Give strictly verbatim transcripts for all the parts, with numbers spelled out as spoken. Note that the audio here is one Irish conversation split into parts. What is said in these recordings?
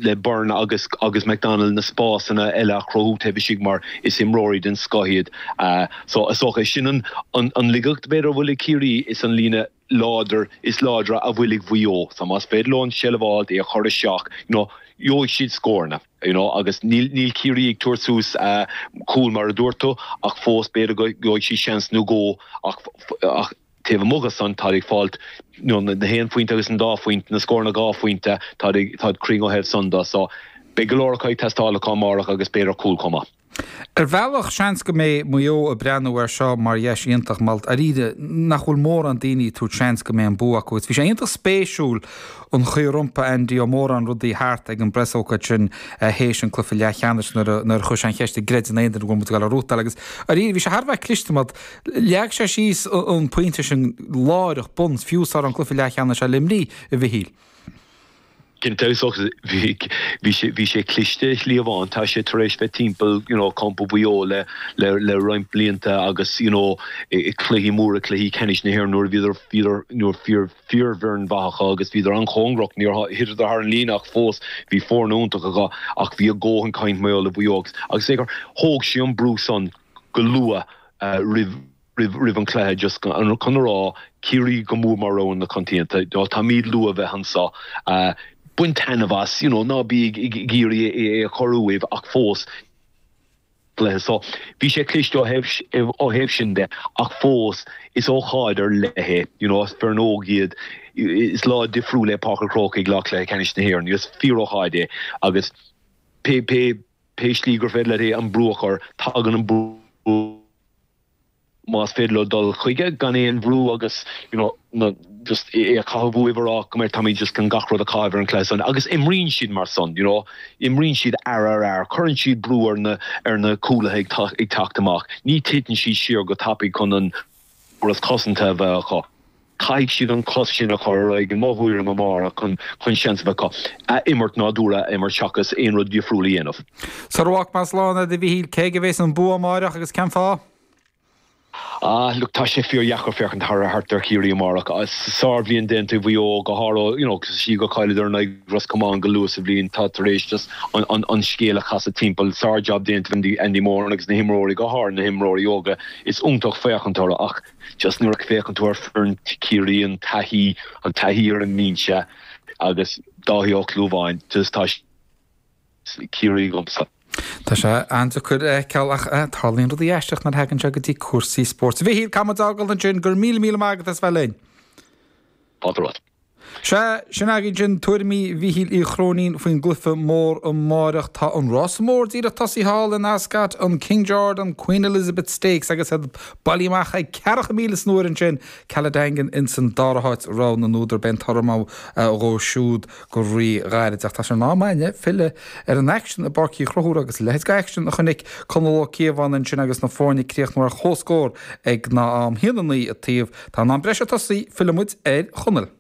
le Byrne agus agus McDonald na spásanna eile a chruthú taobh istigh mar is imreoirí den scoth iad uh, so is dócha sin an an, an laigeacht b'fhéidir a bhfuil ag Ciarraí is an líne láidir is láidre a bhfuil ag Mhaigh Eo so más féidir leo an seilbh a fháil é a chur isteach you know, gheobhaidh siad scóranna you know, agus níl níl Ciarraí ag tabhairt suas uh, cúl mar a dúirt tú ach fós b'fhéidir go gheobhaidh siad seans nó dhó ach ach taobh amuigh san tá ag fáilt you know, na haon phointe agus an dá phointe na scóranna dhá phointe tá tá cruinn ó thaobh san de so beidh go leor ag teastáil amárach agus b'fhéidir cúl chomh maith. Ar bhealach seans go mbeidh Maigh Eo ag breathnú air seo mar dheis iontach mar dáiríre nach bhfuil mórán daoine ag tabhairt seans go mbeidh an bua acu. Bhí sé iontach spéisiúil an chaoi ar iompaigh Andy Ó Móráin rudaí thart ag an bpreasócáid sin théis an cluiche leathcheannais nuair a chuir sé an cheist an gcreideann aon duine go bhfuil muid ag rútáil agus dáiríre bhí sé thar a bheith cliste mar leag sé síos an pointe sin láithreach bonn fiú sar an cluiche leathcheannais le Luimnigh a Mhichíl. Cinnte bhí bhí sé cliste líomháin tá sé tar éis bheith timpeall you know, campa Mhaigh Eo le le le roinnt blianta agus you know, i cluichí móra cluichí ceannais na hÉireann nuair bhíodar bhíodar nuair fíor fíorfhoireann mhaith agus bhíodar an-chóngarach níor thiteadar thar an líne ach fós bhí foireann iontach acu ach bhí a ndóthain cainte le Maigh Eo agus é gur thóg sé an brú san go luath uh, roimh roimh an cluiche just an chun rá Ciarraí go mór mar rogha na coitianta táimid luath bheith anseo uh, bain taitneamh as you know, ná bí ag iarraidh é a chorúh ach fós le so bhí sé cliste ó thaobh sin de ach fós is ócáid ar leith you know, foireann óg iad is lá difriúil le Páirc an Chrócaigh lá cluiche ceannais na hÉireann, is fíorócáid é agus pé pé pé slí gur féidir le an brú a chur tagann an brú más féidir leo dul chuige gan aon bhrú agus you know, na, just é a chaitheamh rá go tá just gan gach rud a chaitheamh an cluiche san agus imríonn siad mar san you know, imríonn siad ar ar ar cuireann siad brú ar na ar na cúlaithe ag teacht amach ní titeann siad siar go tapaidh chun an córas cosanta a bheith acu. Caithfidh siad an cos sin a chur ag an móthuiir an mar chun chun seans bheith a imirt nádúrtha imirt seachas aon rud difriúil a dhéanamh. Sa rwach mas lána de bhíhíl cé a bheas an bua amárach agus cén fáth? Ah, look tá sé fíordheacair féachaint thar thart ar Chiarraí amárach sárbhliain déanta Mhaigh Eo go háirithe you know, sí go chailleadar na Ros Comáin go luath sa bhliain tá tar éis just an, an, an scéal a chasadh timpeall sár-jab déanta Andy, Andy Moran agus na himreoirí go háirithe na himreoirí óga is iontach féachaint orthu ach just nuair a fhéachann tú ar foireann Chiarraí an taithí an taithí ar an mbinse agus Dáithí Ó Clúmháin just tá Ciarraí agamsa. Tá sé an-deacair ceall ach tarlaíonn rudaí aisteacha nuair a thagann sé go dtí cúrsaí spóirt. Bhí cam ágal an sin gur míle míle maith agat as bheith linn. Pátrát. Se sin againn sin tuairimí Mhichíl Uí Chróinín faoin gcluiche mór amárach tá an rás mór díreach tosaithe thall in Ascot an King George an Queen Elizabeth Stakes agus iad bailithe amach ag ceathracha míle san uair ansin Caladangan in san dara háit rogha na n-údar beidh an toradh dhó siúd go ríghairid ach tá sé in am againne filleadh ar an aicsean i bPáirc Uí Chonchúir agus leithéid d'aicsean a chonaic Conall Ó Cíobháin ansin agus na foirne críochnú ar chomhscór ag na am a haon a naoi an taobh tá an am breise tosaithe fillfimid ar Chonall.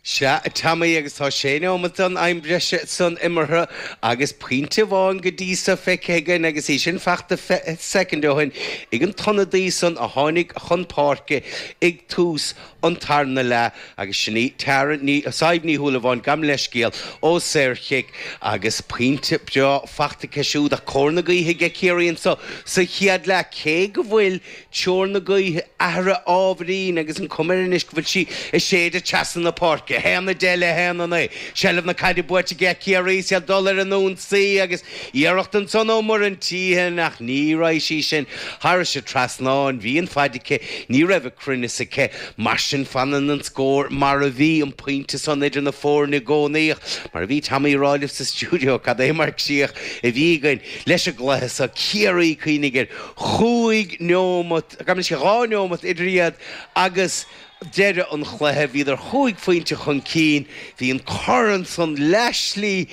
Sea Tommy agus tá sé nóiméad den am breise san imeartha agus pointe amháin go dtí seo feicthe againn agus í sin fachta soicind ó shin ag an t-ionadaí san a tháinig chun páirce ag tús an tarna leath agus sin í Tara ní Saib Ní Shúilleabháin gabh mo leithscéal ó saorchic agus pointe breá fachta aici siúd a cóir na gaoithe ag Ciarraí anseo sa chéad leath cé go bhfuil teoir na gaoithe athraithe ábhairín agus an chuma air anois go bhfuil sí ag séideadh trasna na páirce. Haon a deich le haon a naoi. Seilbh na caide buaite ag Ciarraí is ag dul ar an ionsaí agus iarracht ansan ó Muireann Teehan ach ní raibh sí sin thar an trasnán bhí an fhaid aici ní raibh a cruinneas aici mar sin fanann an scór mar a bhí an pointe san idir na foirne i gcónaí mar a bhí Tommy ag rá libh sa stiúideo cad é mar chríoch a bhí againn leis an gcluiche seo Ciarraí cuimhnigh air chúig neomat gan sé dhá neomat idir iad agus deireadh an chluiche bhíodar chúig phointe chun cinn bhí an corn san leathshlí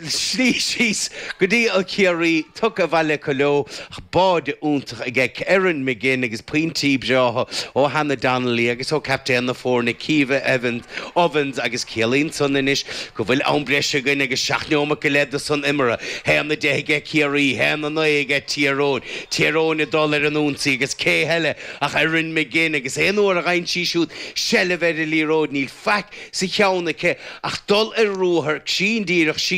slí síos go dtí an Ciarraí tugtha abhaile acu leo báide iontach aige Erin McGinn agus pointí breátha ó Hannah Donnelly agus ó captaen na foirne Caoimhe Evans Ovens agus ciallaíonn san anois go bhfuil am breise againn agus seacht neomat go leith san imeartha haon a deich aige Ciarraí haon a naoi aige Tír Eoghain Tír Eoghain ag dul ar an ionsaí agus cé heile ach Erin McGinn agus aon uair a fhaigheann sí siúd seilbh ar an liathróid níl faic sa cheann aici ach dul ar ruathar sin díreach sí